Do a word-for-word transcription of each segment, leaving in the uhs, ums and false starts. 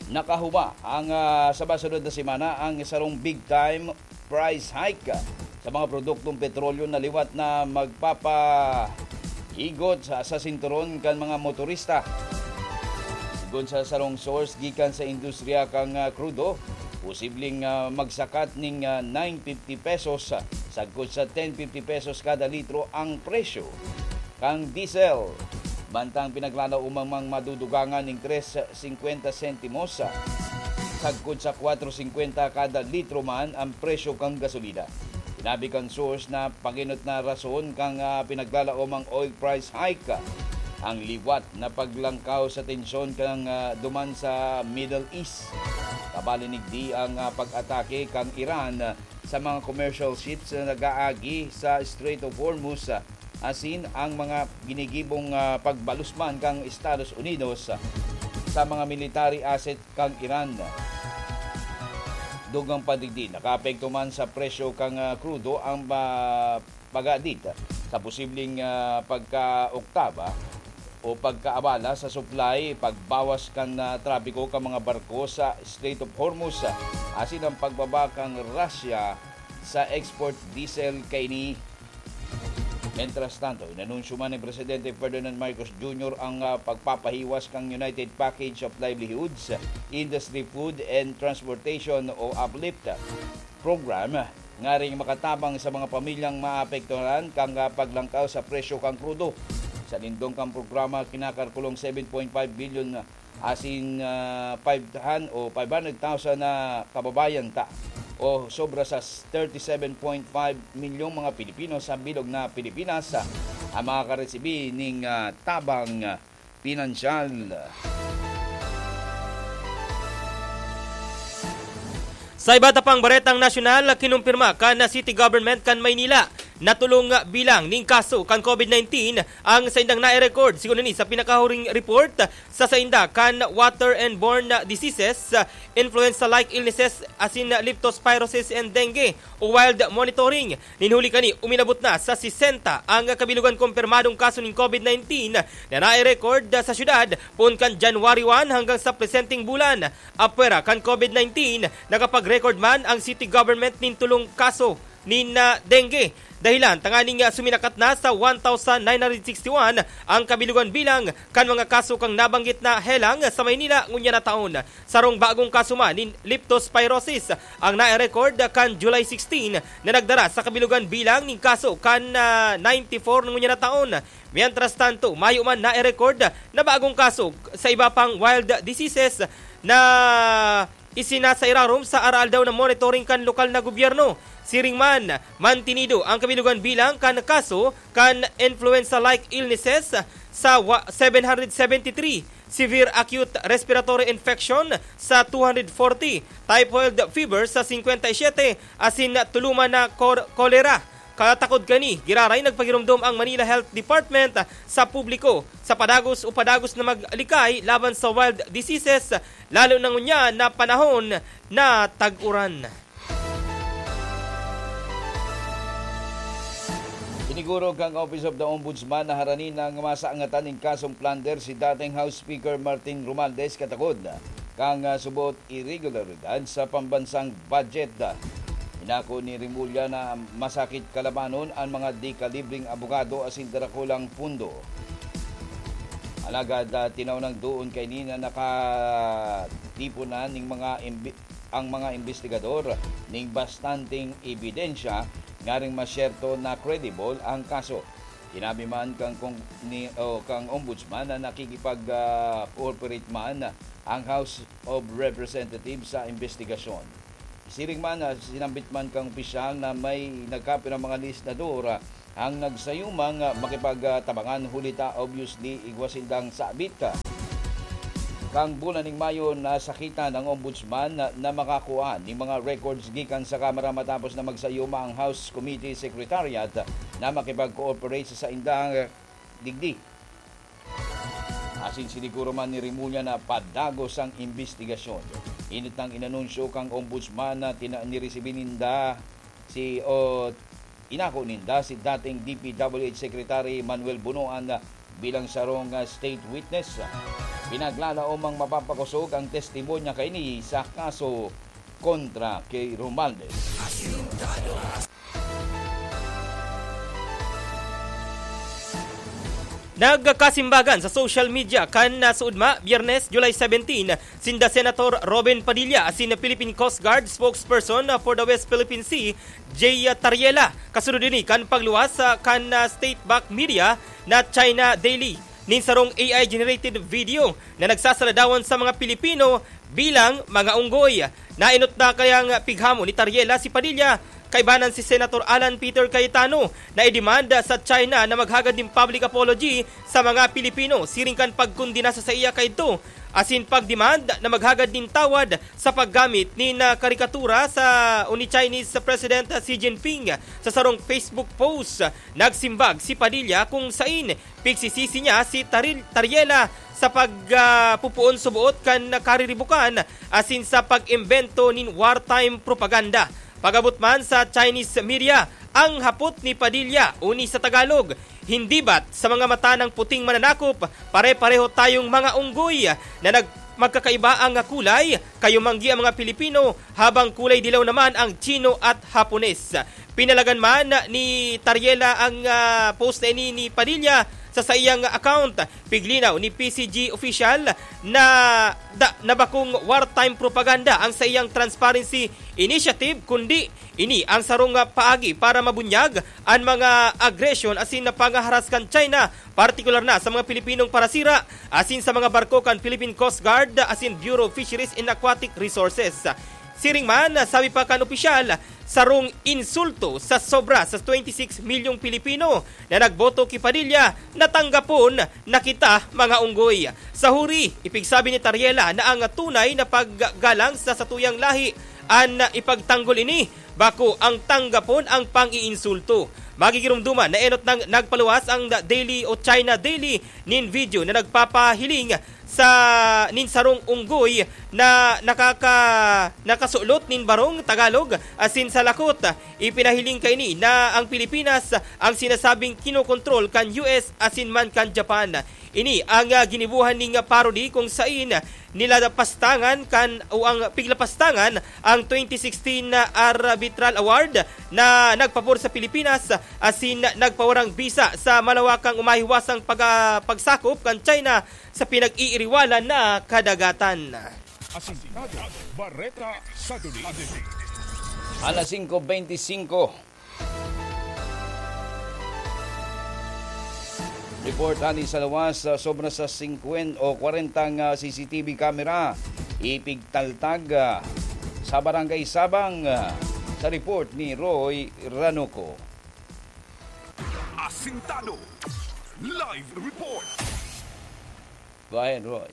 Nakahuba ang, ah, sa masunod na semana ang sarong big time price hike sa mga produktong petrolyo na liwat na magpapahigot sa, sa sinturon kan mga motorista. Sigon sa sarong source gikan sa industriya kan, ah, krudo, posibleng, ah, magsakat ning, ah, nine fifty pesos, ah, sagkod sa ten fifty pesos kada litro ang presyo kan diesel. Mantang pinaglalaomang madudugangan ning tres singkwenta sentimos, sagkod sa kwatro singkwenta kada litro man ang presyo kan gasolina. Sinabi kan source na paginot na rason kan, ah, pinaglalaomang oil price hike ang liwat na paglangkaw sa tensyon kan, ah, duman sa Middle East. Kabali nigdi ang, ah, pag-atake kan Iran sa mga commercial ships na nag-aagi sa Strait of Hormuz, ah, asin ang mga ginigibong, ah, pagbalusman kan Estados Unidos, ah, sa mga military asset kan Iran. Dugang pa digdi, nakaapekto man sa presyo kan, ah, krudo ang, ah, pag-aadit sa posibleng, ah, pagka-oktaba o pagkaabala sa supply, pagbawas kan, ah, trapiko kan mga barko sa Strait of Hormuz, ah, asin ang pagbaba kan Russia sa export diesel kaini. Mientras tanto, inanunsyo man ni Presidente Ferdinand Marcos Junior ang, ah, pagpapahiwas kan United Package of Livelihoods, Industry, Food and Transportation o uplift program, ngaring makatabang sa mga pamilyang maapektuhan kan, ah, paglangkaw sa presyo kan krudo. Sa lindong kan programa, kinakalkulong seven point five billion asin, ah, five han-, o five hundred thousand na kababayan ta, o sobra sa thirty-seven point five milyong mga Pilipino sa bilog na Pilipinas, ah, ang makakaresibi ning, ah, tabang, ah, pinansyal. Sa iba ta pang baretang nasyonal, kinumpirma kan City Government kan Maynila na tulong bilang ning kaso kan COVID nineteen ang saindang nai-record, sigon ini sa pinakahuring report sa sainda kan water and borne diseases, influenza-like illnesses asin leptospirosis and dengue o wild monitoring. Nin huli kani, uminabot na sa sesenta ang kabilogan kumpirmadong kaso nin COVID nineteen na nai-record sa syudad poon kan January one hanggang sa presenteng bulan. Apwera kan COVID nineteen, nakapag-record man ang city government nin tulong kaso nin, ah, dengue. Dahilan tanganing, ah, suminakat na sa one thousand nine hundred sixty-one ang kabilogan bilang kan mga kaso kan nabanggit na helang sa Maynila ngunyan na taon. Sarong bagong kaso man nin leptospirosis ang nai-record kan July sixteen na nagdara sa kabilogan bilang nin kaso kan, ah, ninety-four ngunyan na taon. Mientras tanto, mayo man nai-record na bagong kaso sa iba pang wild diseases na isinasairarom sa araaldaw na monitoring kan lokal na gobyerno. Siring man, mantinido ang kabilogan bilang kan kaso kan influenza-like illnesses sa wa-, seven hundred seventy-three, severe acute respiratory infection sa two hundred forty, typhoid fever sa singkwenta y siyete, asin tuluman na kor-, kolera. Katakod kani, giraray nagpagiromdom ang Manila Health Department sa publiko sa padagos o padagos na maglikay laban sa wild diseases, lalo na ngunyan na panahon na tag-uran. Siniguro kang Office of the Ombudsman na harani nang masangatan nin kasong plunder si dating House Speaker Martin Romualdez katakod kang, ah, subot irregularidad sa pambansang budget. Inako ni Remulla na masakit kalabanon an mga di-kalibring abogado asin darakulang pundo. Alagad, ah, tinaw nang doon kaini na nakatiponan ning mga imbi-, ang mga imbestigador ning bastanteng ebidensya ngaring masyerto na credible ang kaso. Sinabi man kang kong-, ni, o kang Ombudsman na nakikipag, ah, cooperate man ang House of Representatives sa imbestigasyon. Siring man, ah, sinambit man kang opisyal na may nagkapirang mga legislador, ah, ang nagsayumang, ah, makipagtabangan, huli ta obviously igwa sindang sabit, ah. Kang bulan ning Mayo, nasakitan ang Ombudsman na, na makakua ning mga records gikan sa Kamara matapos na magsayuma ang House Committee Secretariat na makipag-cooperate sa saindang, ah, digdi. Asin siniguro man ni Remulla na padagos ang imbestigasyon. Inot nang inanunsyo kang Ombudsman na tina-, niresibi ninda si, o inako ninda si dating D P W H Secretary Manuel Bonoan bilang sarong, ah, state witness. Pinaglalaomang mapapakosog ang testimonya kaini sa kaso kontra ki Romualdez. Nagkasimbagan sa social media kan, ah, suudma, Biyernes, July seventeen, sinda Senator Robin Padilla asin Philippine Coast Guard spokesperson, ah, for the West Philippine Sea, Jay Tariela. Kasunod ini kan pagluwas, ah, kan, ah, state-backed media na China Daily nin sarong A I-generated video na nagsasaladawan sa mga Pilipino bilang mga unggoy. Naenot na kayang pighamon ni Tariela si Padilla, kaibanan si Senator Alan Peter Cayetano, na idemanda sa China na maghagad nin public apology sa mga Pilipino siring kan pagkondena sa saiya kaidto, asin pagdemand na maghagad nin tawad sa paggamit nin, ah, karikatura sa o ni Chinese President Xi Jinping. Sa sarong Facebook post, nagsimbag si Padilla kung sain pigsisisi niya si Taril-, Tariela sa pag, ah, pupuon suboot kan kariribukan asin sa pag-imbento nin wartime propaganda. Pag-abot man sa Chinese media, ang hapot ni Padilla uni sa Tagalog, "Hindi ba't sa mga mata ng puting mananakop, pare-pareho tayong mga unggoy na nag-, magkakaiba ang kulay? Kayo manggi ang mga Pilipino, habang kulay dilaw naman ang Chino at Hapones." Pinalagan man ni Tariela ang, ah, post na ini ni Padilla sa saiyang account. Piglinaw ni P C G official na da-, na bakong wartime propaganda ang saiyang transparency initiative, kundi ini ang sarong, ah, paagi para mabunyag an mga agresyon asin na pangaharas kan China, partikular na sa mga Pilipinong parasira asin sa mga barko kan Philippine Coast Guard asin Bureau of Fisheries and Aquatic Resources. Siring man, sabi pa kan opisyal, sarong insulto sa sobra sa twenty six milyong Pilipino na nagboto ki Padilla na tanggapon na kita mga unggoy. Sa huri, ipigsabi ni Tariela na ang tunay na paggalang sa satuyang lahi an ipagtanggol ini, bako ang tanggapon ang pang-iinsulto. Magigiromdoman na enot nang nagpaluwas ang Daily o China Daily nin video na nagpapahiling sa nin sarong unggoy na nakaka-, nakasulot nin barong Tagalog asin sa lakot. Ipinahiling kaini na ang Pilipinas ang sinasabing kinokontrol kan U S asin man kan Japan. Ini ang, ah, ginibohan ning parody kung sain nilapastangan kan o ang piglapastangan ang twenty sixteen na Arbitral Award na nagpabor sa Pilipinas asin nagpawarang bisa sa malawakang umahiwasang pag-, pagsakop kan China sa pinag-iiriwalan na kadagatan. Asintado, Bareta sa Duli. Alas singko beintisinko. Report ani sa lawas, ah, sobra sa singkwenta o kwarenta nga C C T V camera ipigtaltag, ah, sa Barangay Sabang, ah, sa report ni Roy Ranuco. Asintado. Live report. Go ahead, Roy.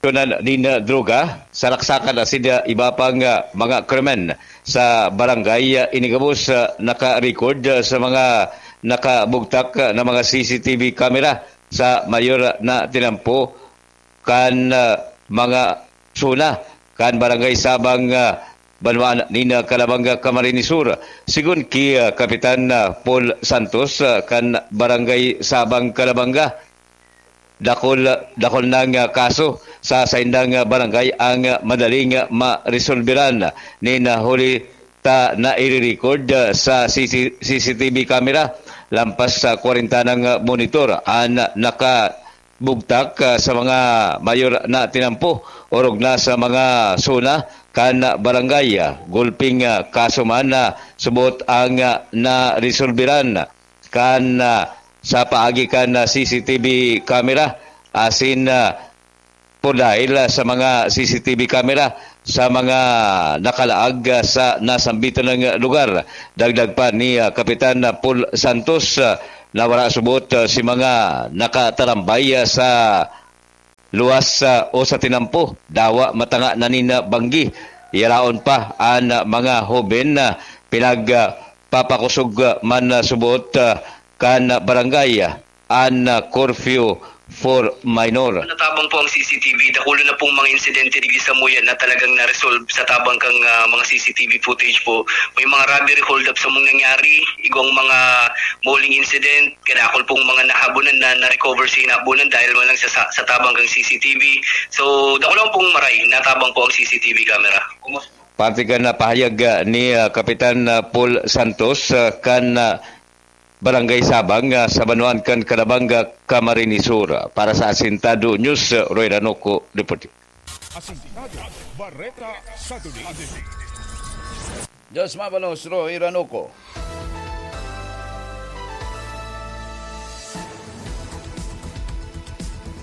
Tunan nin, ah, droga, saraksakan asin, ah, iba pang, ah, mga krimen sa barangay, ah, ini gabos, ah, naka-record, ah, sa mga nakabugtak, ah, na mga C C T V camera sa mayor na tinampo kan, ah, mga zona kan Barangay Sabang, ah, banwaan nin, ah, Calabanga, Camarines Sur. Sigon ki, ah, Kapitan, ah, Paul Santos, ah, kan Barangay Sabang, Calabanga, dakul, dakul nang, ah, kaso sa saindang, ah, barangay ang, ah, madaling, ah, maresolberan nin, ah, huli ta naire-record, ah, sa C C, C C T V camera. Lampas sa kwarenta nang, ah, monitor an, ah, nakabugtak, ah, sa mga mayor na tinampo, orog na sa mga zona kan, ah, barangay. Ah, gulping, ah, kaso man na subot ang, ah, naresolberan kan, ah, sa paagi kan, ah, C C T V camera asin, ah, por dahil, ah, sa mga C C T V camera sa mga nakalaag, ah, sa nasambitan ng lugar. Dagdag pa ni, ah, Kapitan, ah, Paul Santos, ah, na wala subot, ah, si mga nakatarambay, ah, sa luwas, ah, o sa tinampo, dawa matanga na nin, ah, banggi. Yaraon pa an, ah, mga hoben na pinag, ah, papakosog, ah, man, ah, subot, ah, kan, ah, barangay, ah, an, ah, curfew for minor. Natabang po ang C C T V. Dakulo na pong mga insidente digdi sa Muyan na talagang na-resolve sa tabang kang, ah, mga C C T V footage po. May mga robbery hold-up sa mong nangyari, igwang mga bowling incident, kadakol pong mga nahabunan na na-recover sa hinabunan dahil man lang sa, sa, sa tabang kang C C T V. So, dakulo pong maray, natabang po ang C C T V camera. Parte kan, ah, pahayag, ah, ni, ah, Kapitan, ah, Paul Santos, ah, kan, ah, Barangay Sabang, ah, sa Banuan kan Calabanga, Camarines Sur. Para sa Asintado News, ah, Roy Ranoco, reporting. Asintado, Bareta sa Tuloy. Diyos mabalos, Roy Ranoco.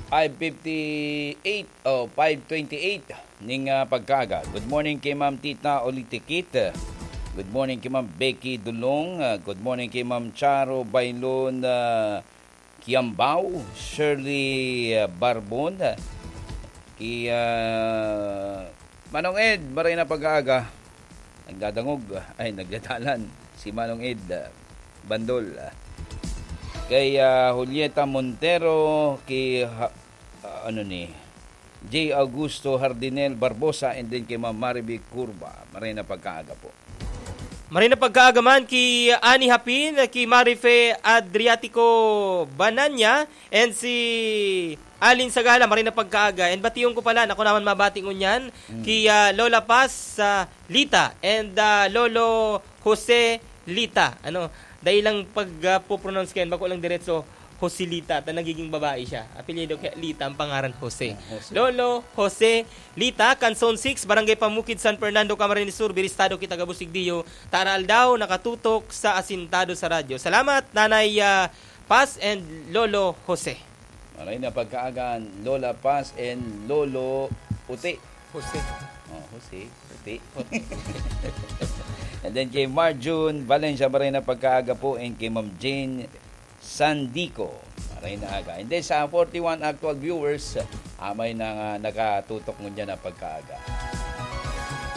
Five fifty-eight o five twenty-eight ning, ah, pagkaaga. Good morning kay Ma'am Tita Olitikit. Good morning kay Ma'am Becky Dulong. Ah, good morning kay Ma'am Charo Bailon, ah, Kiambao, Shirley, ah, Barbon. Ah, kay, ah, Manong Ed, maray na pagkaaga. Nagdadangog, ay, nagdadalan si Manong Ed, ah, Bandol. Ah. Kay, ah, Julieta Montero, kay, ha-, ah, ano ni, J Augusto Hardinel Barbosa, and then kay Ma'am Marivic Curva. Maray na pagkaaga po. Maray na pagkaaga man ki Ani Hapin, ki Marife Adriatico Bananya, and si Alin Sagala, maray na pagkaaga. And batiyon ko pala, naku naman mabati ngunyan, Mm. ki, ah, Lola Paz, ah, Lita, and, ah, Lolo Jose Lita. Ano, dai lang pag, ah, po-pronounce kayan, bako lang diretso, Joselita, ta nagiging babae siya. Apelyido kaya Lita ang pangaran, Jose. Ah, Jose. Lolo Jose Lita, kan Zone six, Barangay Pamukid, San Fernando, Camarines Sur, Biristado kita gabos igdiyo, ta aroaldaw nakatutok sa Asintado sa Radyo. Salamat, Nanay, ah, Paz and Lolo Jose. Maray na pagkaaga, Lola Paz and Lolo Uti. Jose. Oh, Jose. Uti. And then kay Marjun Valencia, maray na pagkaaga po, and kay Ma'am Jane Sandico. Maray na aga. And then sa forty-one actual viewers, amay na nga nakatutok ngunyan na pagkaaga.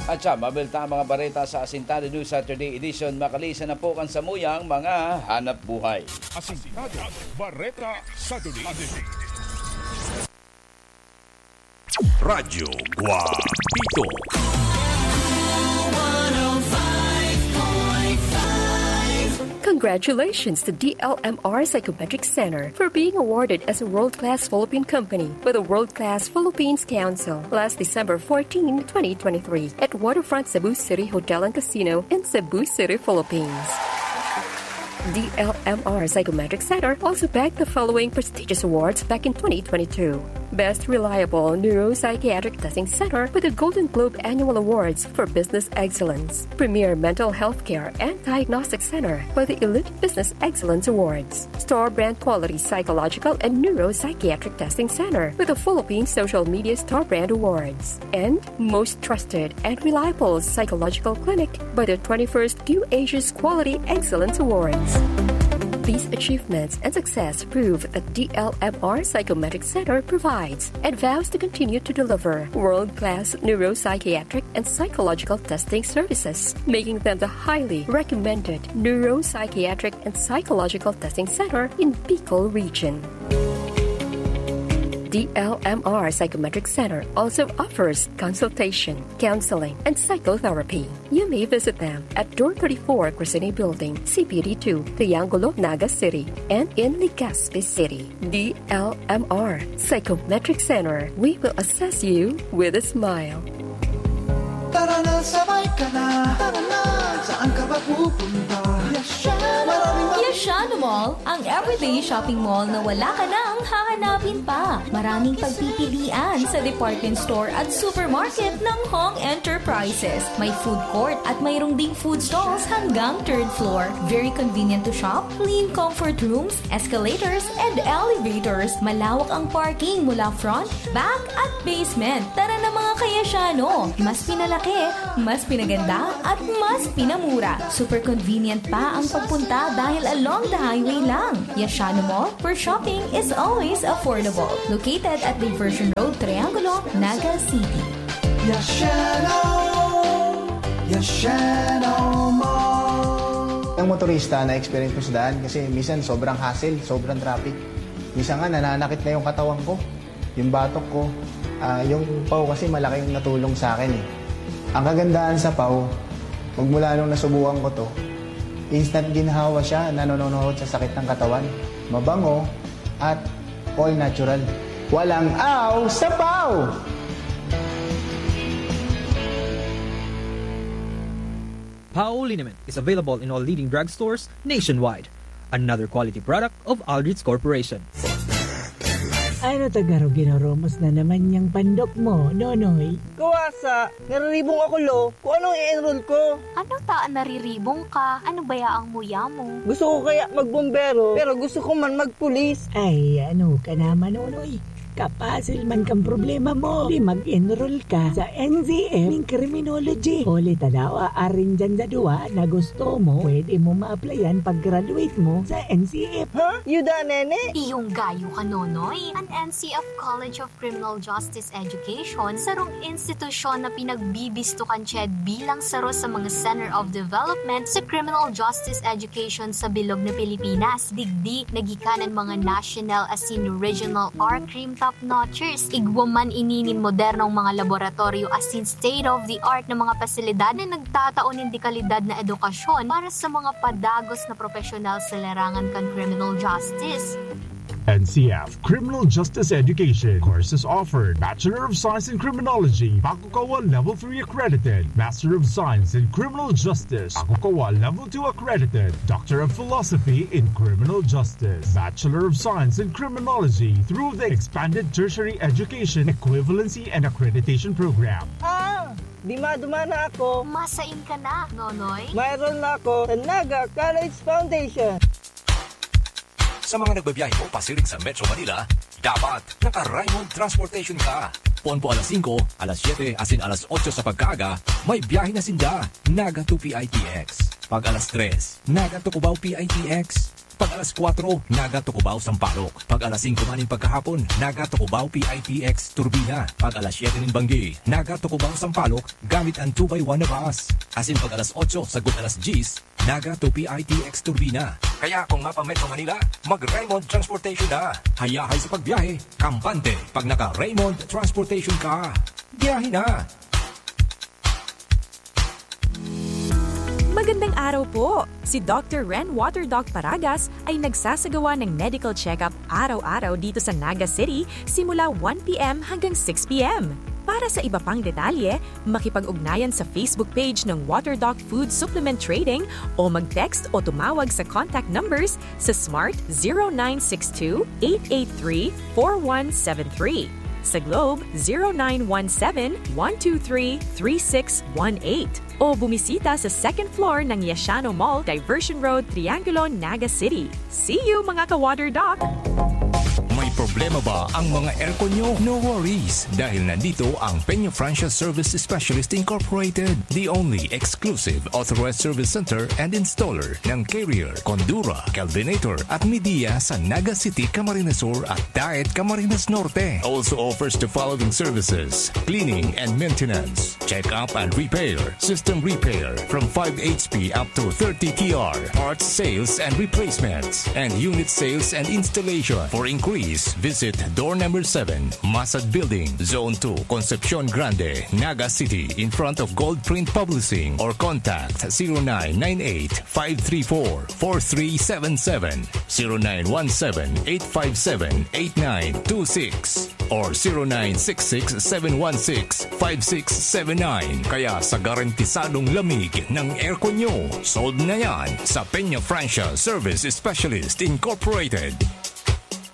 At siya, mabilta ang mga bareta sa Asintado News Saturday Edition. Makalisan na po kan samuyang mga hanap buhay. Asintado, Bareta Saturday. Radyo Guapito. Congratulations to D L M R Psychometric Center for being awarded as a world-class Philippine company by the World Class Philippines Council last December fourteen, twenty twenty-three, at Waterfront Cebu City Hotel and Casino in Cebu City, Philippines. D L M R Psychometric Center also bagged the following prestigious awards back in twenty twenty-two. Best Reliable Neuropsychiatric Testing Center with the Golden Globe Annual Awards for Business Excellence, Premier Mental Health Care and Diagnostic Center by the Elite Business Excellence Awards, Store Brand Quality Psychological and Neuropsychiatric Testing Center with the Philippine Social Media Store Brand Awards, and Most Trusted and Reliable Psychological Clinic by the twenty-first Q Asia's Quality Excellence Awards. These achievements and success prove that D L M R Psychometric Center provides and vows to continue to deliver world-class neuropsychiatric and psychological testing services, making them the highly recommended neuropsychiatric and psychological testing center in Bicol Region. D L M R Psychometric Center also offers consultation, counseling, and psychotherapy. You may visit them at Door thirty-four, Crescene Building, C P D two, Triangulo, Naga City, and in Legazpi City. D L M R Psychometric Center, we will assess you with a smile. Tara na, sabay ka na. Tara na, saan ka ba pupunta? Yashano Mall, ang everyday shopping mall na wala ka nang hahanapin pa. Maraming pagpipilian sa department store at supermarket ng Hong Enterprises. May food court at mayroong ding food stalls hanggang third floor. Very convenient to shop, clean comfort rooms, escalators, and elevators. Malawak ang parking mula front, back, at basement. Tara na, mga ka-Yashano! Mas pinalaki, mas pinaganda, at mas pinamura. Super convenient pa ang pagpunta dahil along the highway lang. Yashano Mall, where shopping is always affordable. Located at Diversion Road, Triangulo, Naga City. Yashano! Yashano Mall! Ang motorista, na-experience ko sa daan kasi minsan sobrang hassle, sobrang traffic. Minsan nga, nananakit na yung katawan ko, yung batok ko. Ah, yung paw kasi malaking natulong sa akin eh. Ang kagandahan sa paw, magmula nung nasubukan ko to, instant ginhawa siya, nanononohod sa sakit ng katawan. Mabango at all natural. Walang aw sa paw! Pao liniment is available in all leading drugstores nationwide. Another quality product of Aldrich Corporation. Ano ta garo ginoromos na naman niyang pandok mo, Nonoy? Kawasa, nariribong ako lo, kung anong i-enroll ko. Ano ta ang nariribong ka? Ano baya ang muya mo? Gusto ko kaya magbombero, pero gusto ko man magpulis. Ay, ano ka naman, Nonoy? Kapasil man kan problema mo. Di mag-enroll ka sa N C F ning criminology. Huli ta daw, aarin dyan sa duwa na gusto mo, pwede mo ma-applyan pag-graduate mo sa N C F. Ha? Yuda, nene? Iyong gayo ka, Nonoy. An N C F College of Criminal Justice Education, sarong institusyon na pinagbibisto kan CHED bilang saro sa mga Center of Development sa criminal justice education sa bilog na Pilipinas. Digdi, nagikanan mga national asin regional or crime top notchers. Igwa man ini nin modernong mga laboratoryo asin state-of-the-art na mga pasilidad na nagtatao nin dekalidad na edukasyon para sa mga padagos na propesyonal sa larangan kan criminal justice. N C F Criminal Justice Education. Courses offered: Bachelor of Science in Criminology, Pakukawa Level three accredited; Master of Science in Criminal Justice, Pakukawa Level two accredited; Doctor of Philosophy in Criminal Justice, Bachelor of Science in Criminology through the Expanded Tertiary Education Equivalency and Accreditation Program. Ah! Dima-duma na ako. Masain ka na, Nonoy. Mayroon na ako sa Naga College Foundation. Sa mga nagbabiyahe po pasiring sa Metro Manila, dapat naka-Raymond Transportation ka. Poon po alas singko, alas siyete, asin alas otso sa pagkaaga, may biyahe na sinda, Naga to P I T X. Pag alas tres, Naga to Cubao P I T X. Pag alas kwatro, Naga to Cubao Sampaloc. Pag alas singko man nin pagkahapon, Naga to Cubao P I T X Turbina. Pag alas siyete nin banggi, Naga to Cubao Sampaloc, gamit an two by one na bus. Asin pag alas otso sagkod alas dyes, Naga to P I T X Turbina. Kaya kung mapa-Metro Manila, mag-Raymond Transportation na. Hayahay sa pagbiyahe, kampante pag naka-Raymond Transportation ka. Biyahe na! Magandang araw po! Si Doctor Ren Water Doc Paragas ay nagsasagawa ng medical check-up araw-araw dito sa Naga City simula one p.m. hanggang six p.m. Para sa iba pang detalye, makipag-ugnayan sa Facebook page ng Water Doc Food Supplement Trading o mag-text o tumawag sa contact numbers sa Smart zero nine six two, eight eight three, four one seven three, sa Globe zero nine one seven, one two three, three six one eight, o bumisita sa second floor ng Yashano Mall, Diversion Road, Triangulo, Naga City. See you, mga ka-Water Doc! May problema ba ang mga aircon nyo? No worries, dahil nandito ang Peña Francia Service Specialist Incorporated, the only exclusive authorized service center and installer ng Carrier, Condura, Kelvinator at Midea sa Naga City, Camarines Sur at Daet, Camarines Norte. Also offers the following services: cleaning and maintenance, check-up and repair, system repair from five H P up to thirty T R, parts sales and replacements, and unit sales and installation. For inquiries, visit door number seven, Masad Building, Zone two, Concepcion Grande, Naga City, in front of Gold Print Publishing, or contact zero nine nine eight, five three four, four three seven seven, zero nine one seven, eight five seven, eight nine two six or zero nine six six, seven one six, five six seven nine. Kaya sa garantisadong lamig ng aircon nyo, sold na yan sa Peña Francia Service Specialist Incorporated.